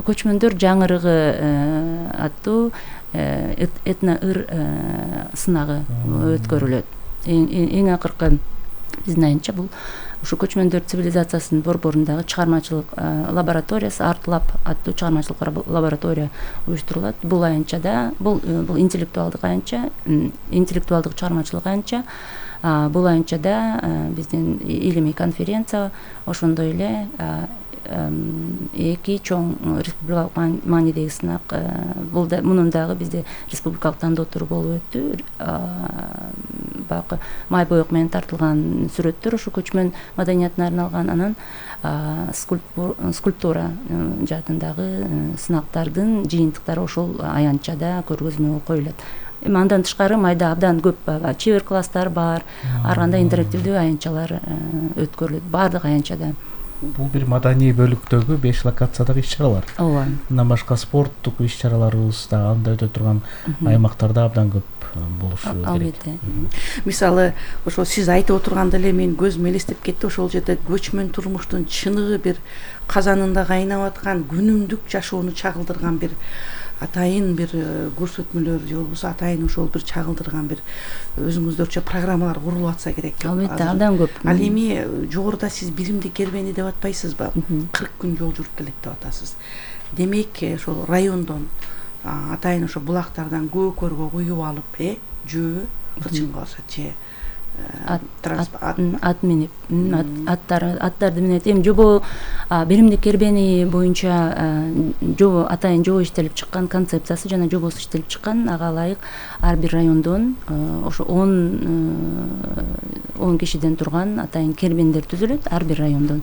көчмөндөр жаңырыгы аттуу этно ыр сынагы өткөрүлөт. Эң акыркы биздин аянтча бул ушу көчмөндөр цивилизациясынын борборундагы чыгармачылык лабораториясы Артлаб аттуу чыгармачылык лаборатория уюштурулат. Бул аянтчада бул интеллектуалдык аянтча, интеллектуалдык чыгармачылык аянтча. Бул аянтчада биздин илимий конференция, ошондой эле эки чоң республикалык маанидеги сынак, мунун дагы бизде республикалык тандоо туру болуп өттү. Баягы май боек менен тартылган сүрөттөр ушу көчмөн маданиятына арналган, анан скульптура жаатындагы сынактардын жыйынтыктары ошол аянтчада көргөзмөгө коюлат. Эми андан тышкары майда абдан көп чебер класстар бар, ар кандай интерактивдүү аянтчалар өткөрүлөт баардык аянтчада. Бул бир маданий бөлүктөгү 5 локациядагы иш-чаралар. Ооба. Андан башка спорттук иш-чараларыбыз да анда өтө турган аймактарда абдан көп болушу керек. Албетте. Мисалы, ошо сиз айтып отурганда эле менин көзүм элестеп кетти. Ошол жерде көчмөн турмуштун чыныгы бир казанында кайнап аткан күнүмдүк жашоону чагылдырган бир атайын бир көрсөтмөлөр же болбосо атайын ошол бир чагылдырган бир өзүңүздөрчө программалар курулуп атса керек. Албетте, абдан көп. Ал эми жогоруда сиз биримди кербени деп атпайсызбы? 40 күн жол жүрүп келет деп атасыз. Демек, ошол райондон атайын ошо булактардан көкөргө куюп алып, жөө, кычынга болсо же ат минип, аттарды минет. Эми жобо биримдик кербени боюнча жобо атайын жобо иштелип чыккан, концепциясы жана жобосу иштелип чыккан. Ага ылайык ар бир райондон ошо 10 кишиден турган атайын кербендер түзүлөт ар бир райондон.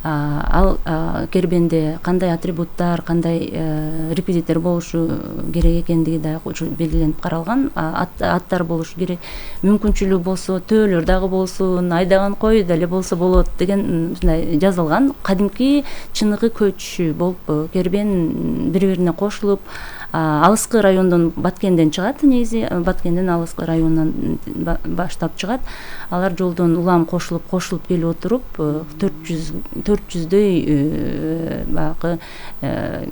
Ал кербенде кандай атрибуттар, кандай реквизиттер болушу керек экендиги да белгиленип каралган. Аттар болушу керек. Мүмкүнчүлүгү болсо төөлөр дагы болсун, айдаган кой деле болсо болот деген ушундай жазылган. Кадимки чыныгы көч болуп кербен бири-бирине кошулуп, алыскы райондон Баткенден чыгат. Негизи Баткенден алыскы районунан баштап чыгат. Алар жолдон улам кошулуп келип отуруп 400дөй баягы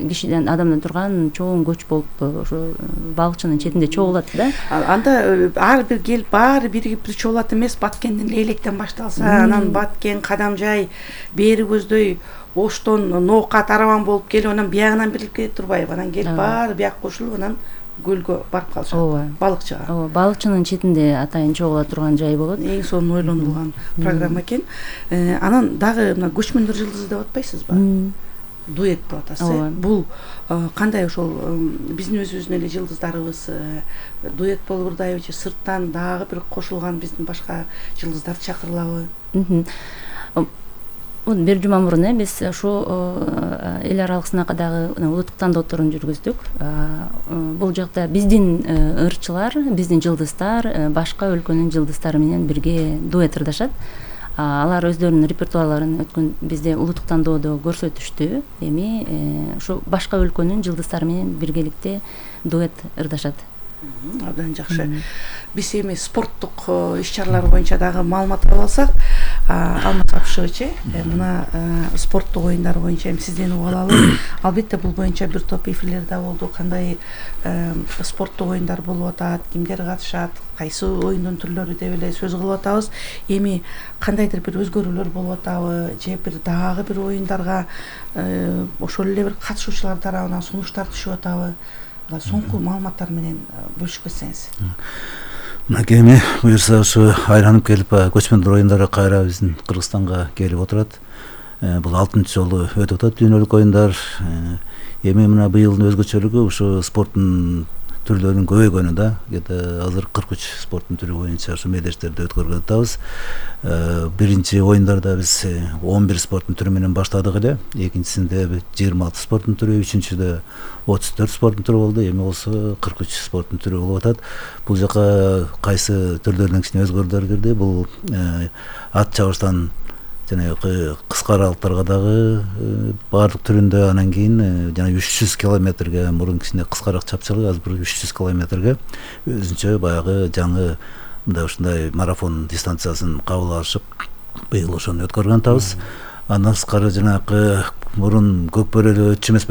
кишиден адамдан турган чоң көч болуп ошо балыкчынын четинде чогулат да. Анда ар бир келип баары биригип чогулат эмес, Баткенден Лейлектен башталса, анан Баткен, Кадамжай, бери көздөй Оштон Ноокат араван болуп келип, анан биягынан бирилип келе турбайбы? Анан келип баары бияк кошулуп, анан көлгө барып калышат. Балыкчыга. Ооба, балыкчынын четинде атайын чогула турган жай болот. Эң сонун ойлонулган программа экен. Анан дагы мына көчмөндөр жылдызы деп атпайсызбы? Дуэт деп атасыз. Бул кандай ошол биздин өзүбүздүн эле жылдыздарыбыз дуэт болуп турдайбы же сырттан дагы бир кошулган биздин башка жылдыздарды чакырылабы? Бир жума мурун биз ошо эл аралык сынакадагы улуттук тандоолорун жүргүздүк. Бул жакта биздин ырчылар, биздин жылдыздар башка өлкөнүн жылдыздары менен бирге дуэт ырдашат. Алар өздөрүнүн репертуарларын өткөн бизде улуттук тандоодо көрсөтүштү. Эми ошо башка өлкөнүн жылдыздары менен биргеликте дуэт ырдашат. Абдан жакшы. Биз эми спорттук иш-чаралар боюнча дагы маалымат алып алсак, Алмаз Абышевич, мына спорттук оюндар боюнча эми сизден угуп алалы. Албетте бул боюнча бир топ эфирлер да болду. Кандай спорттук оюндар болуп атат, кимдер катышат, кайсы оюндун түрлөрү деп эле сөз кылып атабыз. Эми кандайдыр бир өзгөрүүлөр болуп атабы же бир дагы бир оюндарга ошол эле бир катышуучулар тарабынан сунуштар түшүп атабы? Соңку маалыматтар менен бөлүшүп кетсеңиз. Мынакей эми буюрса ушу айланып келип көчмөндөр оюндары кайра биздин Кыргызстанга келип отурат. Бул 6-чы жолу өтүп атат дүйнөлүк оюндар. Эми мына быйылдын өзгөчөлүгү ушу спорттун түрлөрүнүн көбөйгөнү да. Азыр 43 спорттун түрү боюнча ушу мелдештерди өткөрүп атабыз. Биринчи оюндарда биз 11 спорттун түрү менен баштадык эле. Экинчисинде 26 спорттун түрү, үчүнчүдө 34 спорттун түрү болду. Эми болсо 43 спорттун түрү болуп атат. Бул жака кайсы түрлөрүнүн кичине өзгөрүүлөр кирди. Бул ат чабыштан жанагы кыска аралыктарга дагы баардык түрүндө, анан кийин жана 300 километрге мурун кичине кыскараак чапчылык, азыр 300 километрге өзүнчө баягы жаңы мындай ушундай марафон дистанциясын кабыл алышып, быйыл ошону өткөргөн атабыз. Андан тышкары жанагы мурун көк бөрөлүү өтчү эмес